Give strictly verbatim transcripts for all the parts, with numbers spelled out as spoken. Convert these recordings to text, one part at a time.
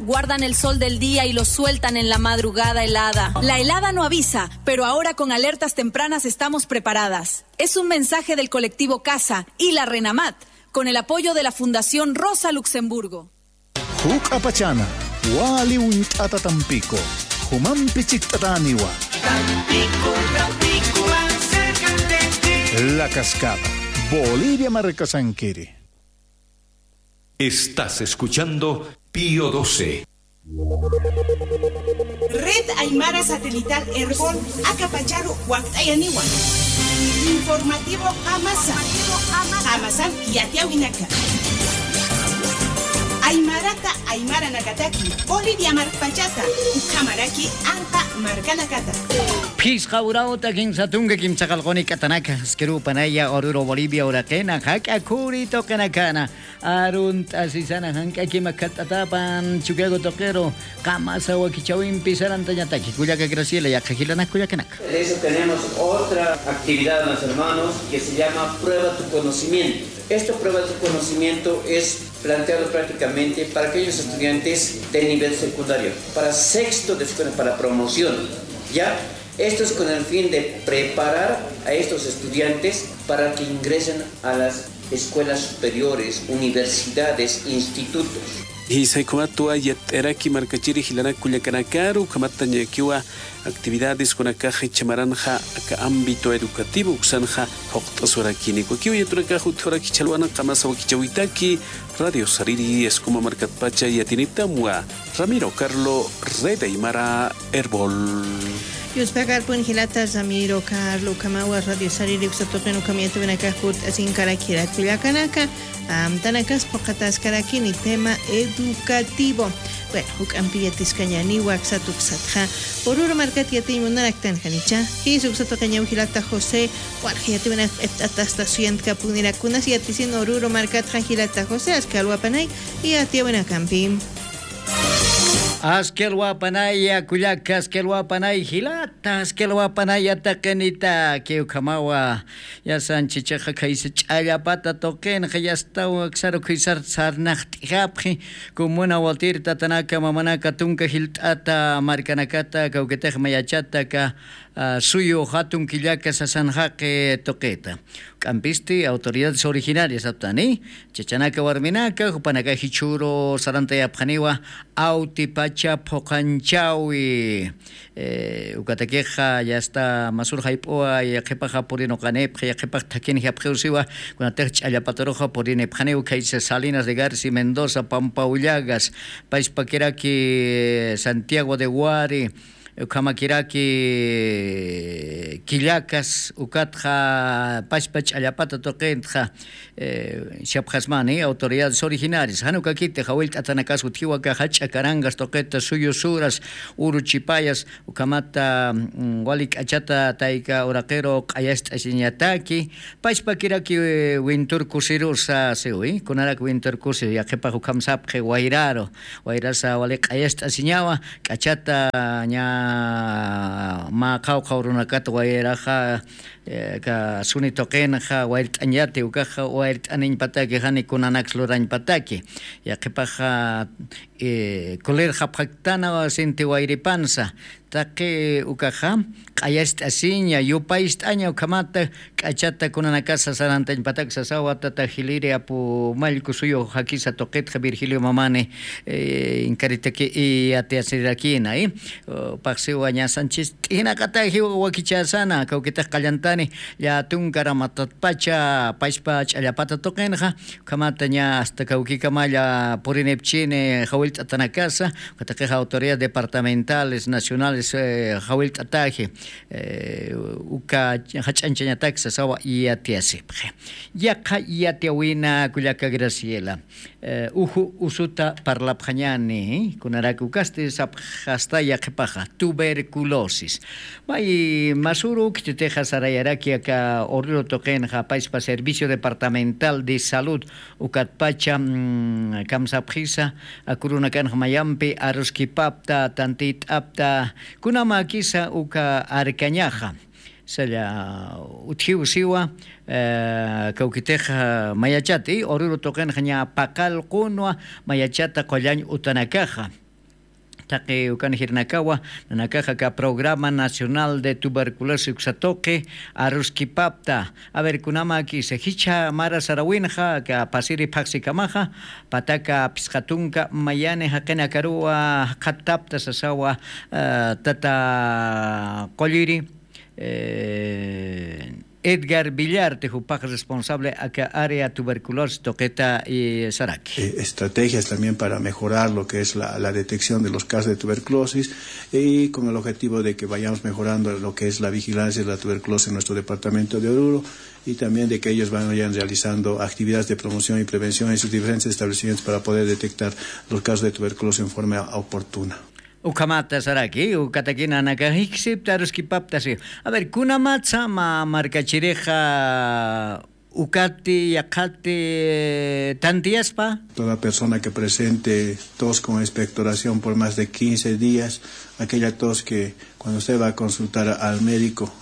Guardan el sol del día y lo sueltan en la madrugada helada. La helada no avisa, pero ahora con alertas tempranas estamos preparadas. Es un mensaje del colectivo Casa y la Renamat, con el apoyo de la Fundación Rosa Luxemburgo. Juk'apachana, wali uñt'ata Tampico, jumampi chikt'atäniwa. Tampico, Tampico, más cerca de ti. La Cascada, Bolivia markasankiri. Estás escuchando Pío doce. Red Aymara Satelital Erbol, aka pacharu wakt'ayaniwa. Informativo Qamasa. Qamasan yatiyawinaka. Aymarata aymaranakataki, Bolivia markpachata, ukhamaraki anqa markanakata. Phisqa urawta kinsa tunka kimsa qallquni k'atanaka, askirupanaya Oruro Bolivia uraqina, jak'a khuri tuqinakana. Arunt'asisana jank'akima khatt'atapan Chukiyawu tuqiru, Qamasa wakichäwimpi sarantañataki. Kullaka Graciela, yaqha jilanaka kullakanaka. De eso tenemos otra actividad, mis hermanos, que se llama Prueba tu conocimiento. Esto, Prueba tu conocimiento, es planteado prácticamente para aquellos estudiantes de nivel secundario, para sexto de escuela, para promoción, ¿ya? Esto es con el fin de preparar a estos estudiantes para que ingresen a las escuelas superiores, universidades, institutos. Jisa, ukhamatwa yatt'ayaraki markachiri jilanak kullakanakaru, ukhamat tañakiwa actividades kunakax jichha maranxa aka ámbito educativo uksanxa juqt'aswarakini. Ukakiw yatiyunakax utjawarakiw chhalwana Qamasa wakichäwitaki, Radio Sariri, Escuma markatpacha yatiyuniptamwa. Ramiro Carlo, Red Aymara Erbol. Yuspakarpun jilata Ramiro Carlo, ukhamawa Radio Sariri uksa tuqin ukham yatiyunakax juqt'asinkarakirak kullakanaka, amtanakas phuqhataskarakini tema educativo. Bueno, juk'ampi yatiskañäniwa aksat uksatxa. Oruro markat yatiñ munaraktan janicha. Jisa, uksa tuqiñaw jilata José, walja yatiyunak q'ipt'atasta suyantkapunirakunas yatisin Oruro markatxa jilata José, aski alwapanay yatiyawinakampi. Aski alwapanaya kullaka, aski alwapanay jilata, aski alwapanaya taqinitaki, ukhamawa. Yasan chichaxa khaysa ch'allapata tuqinxa yastaw aksaru khaysar sarnaqt'ijapxi, comuna Watir tatanaka mamanaka tunka jilt'ata markanakata kawkitix mayachata aka, ah, suyu jatun killaka sasan jaqi tuqita. Juk'ampisti autoridades originarias aptani, chachanaka warminaka, jupanaka jichhüru sarantayapxaniwa Awtipacha phuqanchawi. Eh, ukatakixa yasta masur jayp'uwa, yaqhipaxa purinuqanipxi, yaqhipax thakinjapxiw siwa, kunatix ch'allapataruxa purinipxaniw khaysa Salinas de Garci, Mendoza, Pampa Ullagas, pachpakiraki Santiago de Wari, ukhamakiraki Quillagas, ukatxa pachpa ch'allapata tuqintxa, eh, sapxasmani autoridades originarias. Jan ukakiti jawillt'atanakas utjiwa aka jach'a Carangas tuqita, suyu Suras, uru Chipayas, ukhamata, mm, wali k'achata tayka uraqiru q'ayacht'asiñataki, pachpakiraki, eh, Wintur Kusirusa siwi, kunarak Wintur Kusi, yaqhipax ukham sapxi wayraru, wayrasa wali q'ayacht'asiñawa, k'achata ña mä qhawqha urunakat wayraxa, eh, aka suni tuqinxa wayrt'añati, ukaxa wayrt'aniñpataki, jani kunanaks lurañpataki. Yaqhipaxa, eh, kulirxapxaktana sinti wayripansa. Taqi ukaxa q'ayacht'asiña, yupayst'aña, ukhamata k'achata kunanakasa sarantañpatak sasawa tata Jiliri apu mallku suyu jakisa tuqitxa Virgilio Mamani, eh, inkaritaki yatiyasirakina, eh. Paxsiwa ña Sanchis t'ijinaqatajiw wakichasana, kawkitix qallantani, llatunka ramatatpacha, pachpa ch'allapata tuqinxa, ukhamata ña hasta kawkikamalla purinipchini jawillt'atanakasa, ukataqixa autoridades departamentales, nacionales, eh, jawillt'ataji, eh, uka jach'añchañatak sasawa yatiyasipxi. Yaqha yatiyawina kullaka Graciela. Eh, uju usuta parlapxañani, kunarak ukasti sapxasta yaqhipaxa, tuberculosis. May masuru khititixa sarayaraki aka Oruro tuqinxa, pachpa Servicio Departamental de Salud, ukatpacha, mm, kamsapxisa, aka urunakanxa mayampi aruskipapta, tantit'apta, kunamäkisa uka arkañaxa. Salla utjiw siwa, eh, kawkitix, eh, mayachati, Oruro tuqinxa ña paqallqunwa mayachata qullañ utanakaxa. Taqi ukan jirinakawa, nanakaxa aka Programa Nacional de Tuberculosis uksa tuqi aruskipapta. A ver, kunamaki jichha mara sarawinxa aka pasiri phaxsikamaxa, pataka phisqa tunka mayani jaqinakaruwa jaqhattapta sasawa, eh, tata qulliri, eh, Edgar Villarte, jupax responsable aka área tuberculosis tuqita, y saraki. Eh, estrategias también para mejorar lo que es la, la detección de los casos de tuberculosis y con el objetivo de que vayamos mejorando lo que es la vigilancia de la tuberculosis en nuestro departamento de Oruro y también de que ellos vayan realizando actividades de promoción y prevención en sus diferentes establecimientos para poder detectar los casos de tuberculosis en forma oportuna. Ukhamata saraki, ukatakina nanaka jiksipta aruskipapta si. A ver, kunamatsa mä markachirixa ukati, yaqhati, eh, tantiyaspa. Toda persona que presente tos con expectoración por más de quince días, aquella tos que cuando usted va a consultar al médico,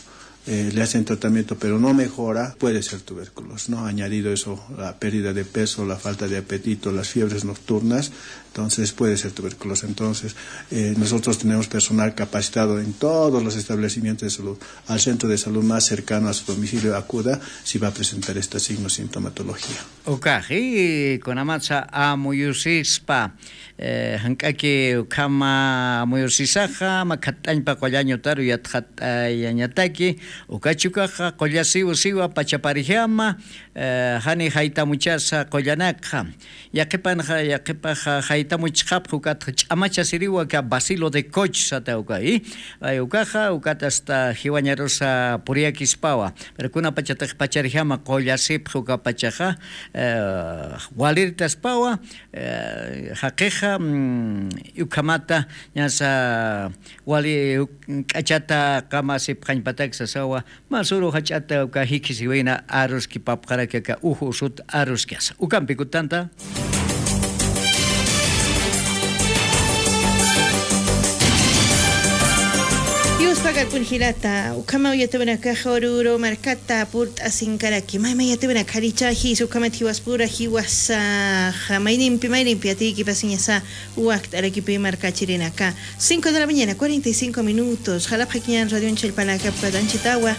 eh, le hacen tratamiento pero no mejora, puede ser tuberculosis, ¿no? Añadido eso, la pérdida de peso, la falta de apetito, las fiebres nocturnas, entonces puede ser tuberculosis. Entonces, eh, nosotros tenemos personal capacitado en todos los establecimientos de salud. Al centro de salud más cercano a su domicilio acuda si va a presentar este signo sintomatología. Ukaxi, kunamatsa amuyusispa, eh, jank'aki ukhama amuyusisaxa, mä khatt'añpa qullañutaru yatxatayañataki, ukachi ukaxa qullasiw siwa pachaparjama, eh, jani jaytamuchasa qullanakxa. Yaqipanxa, yaqipaxa jaytamuchxapxa, ukat ch'amachasiriwa aka Bacilo de Koch sata uka, y, ay, ukaxa, ukat hasta jiwañarusa puriyakispawa. Pero kunapachatix pacharjama qullasipxa ukapachaxa, eh, walirtaspawa, eh, jaqixa, mm, ukhamata, ñasa wali uk-, k'achata qamasipxañpatak sasawa, masuru jach'ata uka jikhisiwina aruskipapxaraki aka uju usut aruskasa. Ukampi kutanta. Yuspagarpun jilata, ukhamaw yatawinakax Oruro markata purt'asinkaraki. Mayma yatawinakxaricha jis ukhamat jiwaspura jiwasa, maynimpi, maynimpi yatiykipasiñasa wakt'arakipi markachirinaka. Cinco de la mañana, cuarenta y cinco minutos. Jalapxakiñan radion challpanakap katanchitawa.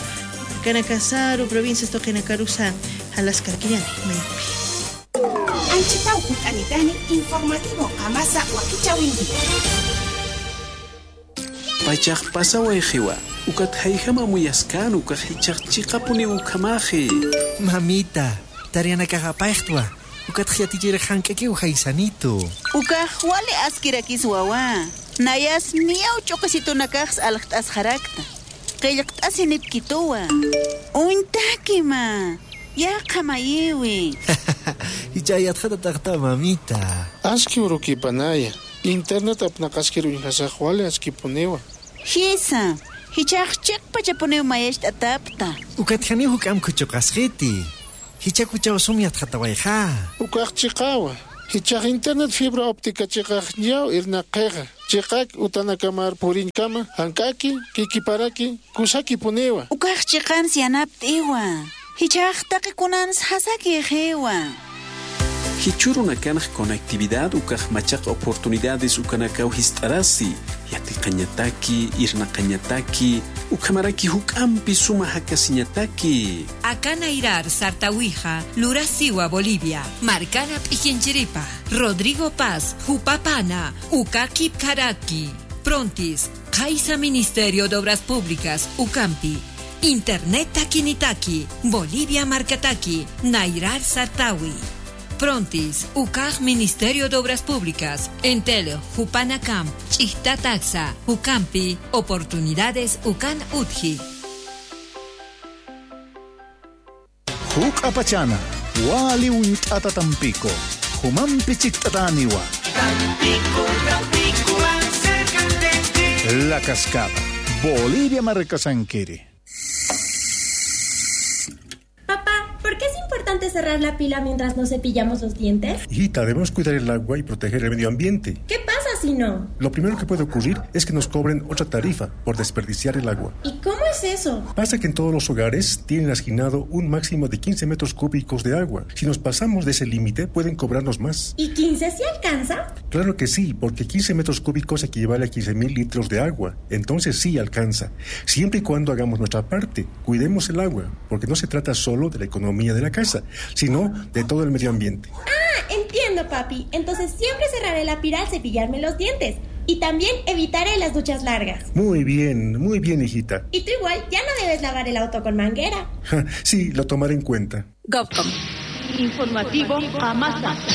Kanakasaru, provincias tuqinakarusa, jalaskarakiñani, maynimpi. Anchitaw jut'anitani informativo qamasa wakichäwinki. Pachax pasawayxiwa, ukat jayjam amuyaskäna, ukax jichhax chiqapuniw ukhamaxi. Mamita, tareanakax apayxtwa, ukatx yatichirix jank'akiw jaysanitu. Ukax wali askirakiswawa, nayas miyaw ch'uqisitunakax aljt'asxarakta. Qillqt'asinipkituwa. Uñtakima. Yaqha mayiwi. Jichha yatxatataqta, mamita. Aski urukipanaya. Internet apnaqaskir uñjasax wali askipuniwa. Jisa, jichhax chiqpachapuniw mayacht'atapta. Ukat janiw juk'amp khuchuqasxiti. Jichhakuchaw sum yatxatawayxa. Ukax chiqawa. Jichhax internet fibra óptica chiqaxñaw irnaqxixa. Chiqak utanakamar puriñkama, jank'aki, kikiparaki, kusakipuniwa. Ukax chiqans yanapt'iwa. Jichhax taqi kunans jasakixiwa. Jichhürunakanx conectividad ukax machaq oportunidades ukanakaw jist'arasi, yatiqañataki, irnaqañataki, ukhamaraki juk'ampi suma jakasiñataki. Aka nayrar sartawixa lurasiwa Bolivia, markana p'ikinchiripa, Rodrigo Paz, jupapana, uka kipkaraki. Prontis, Qhaysa Ministerio de Obras Públicas, ukampi, Internet takinitaki, Bolivia markataki, nayrar sartawi. Prontis, ukax Ministerio de Obras Públicas, Entel, jupanakamp, ch'ijtataksa, ukampi, oportunidades ukan utji. Juk'apachana, wali uñt'ata Tampico, jumampi chikt'atäniwa. Tampico, Tampico, más cerca de ti. La Cascada, Bolivia markasankiri. Papá, ¿por qué es importante cerrar la pila mientras nos cepillamos los dientes? Hijita, debemos cuidar el agua y proteger el medio ambiente. ¿Qué pasa si no? Lo primero que puede ocurrir es que nos cobren otra tarifa por desperdiciar el agua. ¿Y cómo es eso? Pasa que en todos los hogares tienen asignado un máximo de quince metros cúbicos de agua. Si nos pasamos de ese límite, pueden cobrarnos más. ¿Y quince sí alcanza? Claro que sí, porque quince metros cúbicos equivale a quince mil litros de agua. Entonces sí alcanza, siempre y cuando hagamos nuestra parte, cuidemos el agua, porque no se trata solo de la economía de la casa, sino de todo el medio ambiente. Ah, entiendo, papi. Entonces siempre cerraré la pira al cepillarme los dientes. Y también evitaré las duchas largas. Muy bien, muy bien, hijita. Y tú igual, ya no debes lavar el auto con manguera. Ja, sí, lo tomaré en cuenta. Govcom. Informativo Amasa.